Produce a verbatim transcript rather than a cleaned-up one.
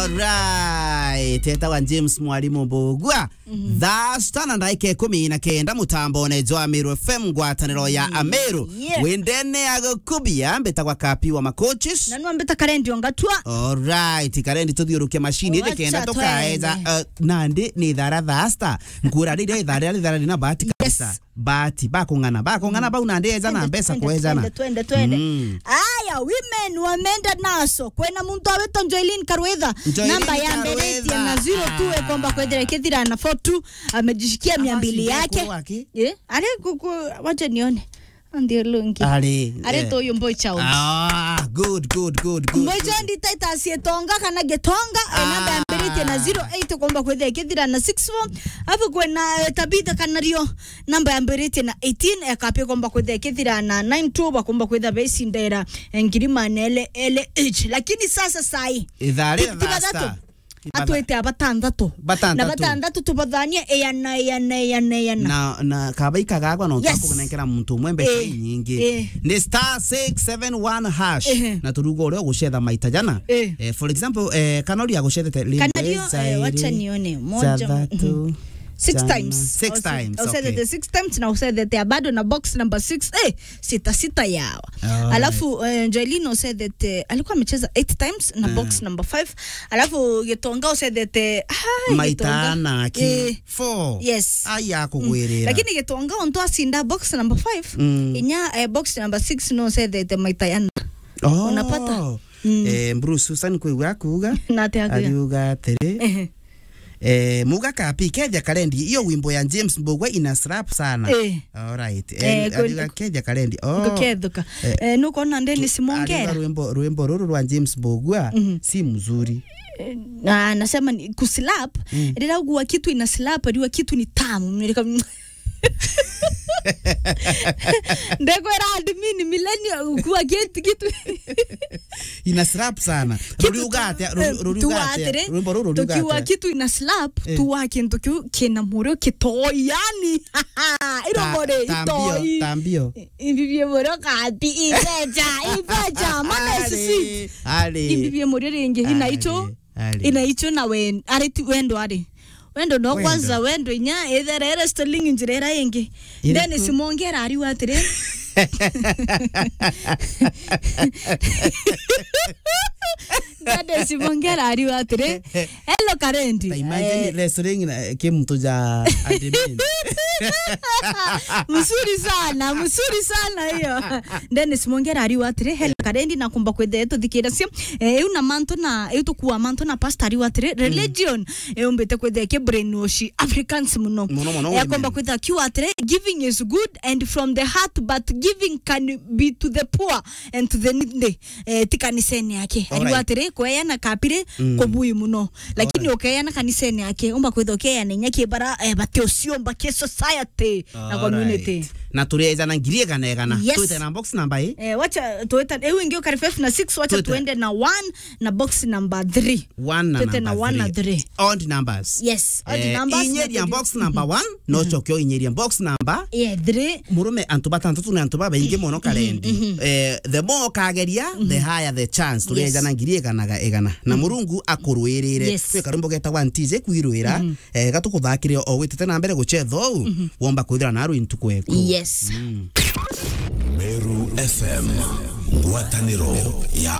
Alright, etagwa James Mwalimu Mbugua. Mhm. Thaa sita na ndagika ikumi na kenda mutambone jwa Meru F M, ngwataniro ya Ameru. Yeah. Windene ya gukubia, mbitagwa Kapi wa Makochis. Na nwa mbita Karendi Ongatua. Alright, Karendi tuthiuruke mashini, indi kenda tukaeja, uh, nandi ni ithara thaa sita. Nkura riria ithara riria ithara rina bahati kabisa. Yes. Bahati, bakung'ana, bakung'ana bau nandi eja na mbeca kwejana. Twende, twende, twende. Mm. Aya, women wamenda naso. Kwena muntu awitwa Joylin Karwitha. Joylin Karwitha. Namba yambiritie na zero two ikomba kwethira ikithira na four two. Amejishikia mia mbili yake. Eh, ari kuku, wacha nione. Ndio lungi. Ari, eh, tu uyu Mboy Child. Ah, good, good, good, good, Mboy Child. Titus Gitonga kana Gitonga, eh, namba yambiritie na zero eight ikomba kwethira ikithira na six four. Afu kwena, eh, Tabitha Kanario. Namba yambiritie na eighteen, ekapi komba kwitha ikithira na nine two, bakomba kwitha becindera, eh, ngiri manele ele each. Lakini sasa sai, ithaa ria thaa sita. Atwite abatanthatu. Batanthatu. Na batanthatu tubathanie eyana, eyana, eyana, eyana. Na, na kabaika gagwa no, yes, kakunenkera muntu umwe mbeca, eh, nyingi. Eh. Ni star six seven one hash. Ehe. Na turugo uria ugucetha maita jana. Eh. Eh, for example, eh, Kanario agucethete rimwe, Kanario, eh, zairi, wacha nione. Moja, zathatu. Mhm. Six times. Six times, okay. Usethete six times na usethete bado na box number six. Eh, sita sita yawa. Alright. Alafu, eh, Joylin usethete, alikuwa amecheza eight times na box number five. Alafu Gitonga usethete, ai, maita Gitonga. Ana aki. Eh. Four. Yes. Ai, akugwirira. Mm. Lakini Gitonga ontu acinda box number five, mm, inya, eh, box number six no usethete maita yana. Oh. Unapata? Mm. Eh, Bruce Susan kwigua akuuga. Na ati akuuga. Ariuga atiri. Ehe. Eh, muga kapi, kethia Karendi, iyo wimbo ya James Mbugua ina slap sana. Eh. Alright. Eh, eh, ariuga kethia Karendi. Oh. Ngukethuka. Eh. Eh, nukwona Dennis Mongera? Ariuga rwimbo, rwimbo ruru rwa James Mbugua, mhm, si mzuri. Eh, na anasema ni kuslap, mm, rira ugua kitu ina slap, riwa kitu ni tamu. Ndekwira admin millennial ukua kitu, kitu. Ina slap sana. Kitu ruriuga atia? Ruri-, eh, ruriuga atia? Rwimbo ruru ruriuga atia? Tukiwa kitu ina slap, eh, tuwa kintu kiu kina murio kitoi, yani. Iro ta-, more tambio, itoi. Tambio. Imbibie murio kapi, ibeja, ibeja. Mana sisi. Ari. Imbibie murio ringi, ina icho. Ari. Ina icho na wen-, ari ti wendo ari. Wendo no kwanza, wendo inya, ethere ere stoling njira ira ingi. Iriku? Dennis Mongera ariuga atiri. Dennis Mongera ariuga atiri. Hello, Karendi. Ta imagine, eh, wrestling na, eh, ki muntu ja admin. Mzuri sana, mzuri sana hiyo. Dennis Mongera ariuga atiri, hello, Karendi, na kumba kwithira tuthikira cio. Eh, iu na mantu na, iu tukua mantu na pastor ariuga atiri, mm, religion, eh, yumbite kwithira ki brainwash Africans muno. Muno, muno, eh, akomba kwithira akiuga atiri, giving is good and from the heart, but giving can be to the poor and to the needy. Eh, ti kanisene yake. Ariuga atiri, kweana kapiri, mm, kubui muno. Lakini ukeana kanisene yake, umba kwithira ukeana inya kibara, eh, bati uciumba ki society na community. Alright. Na turi ejana ngiri igana igana. Yes. Twite na box number i? Eh, wacha tuite, iu ingi ukari five na six, wacha tuende na one na box number three. One na number three. Odd numbers. Yes, odd numbers. Eh, inyeria box number one, no coke inyeria box number, yeah, three. Murume antu batantatu na antu babaingi muno Karendi. Mhm. Eh, the more ukageria, the higher the chance. Turi ejana ngiri igana ga igana. Na Murungu akurwirire. Yes. Kwi karumbo getagwa Ntije kwirwira. Eh, gatukuthakire o witite na mbere gucetha uu, womba kwithira na rwintu kweku. Yes. Mm. Meru F M, ngwataniro ya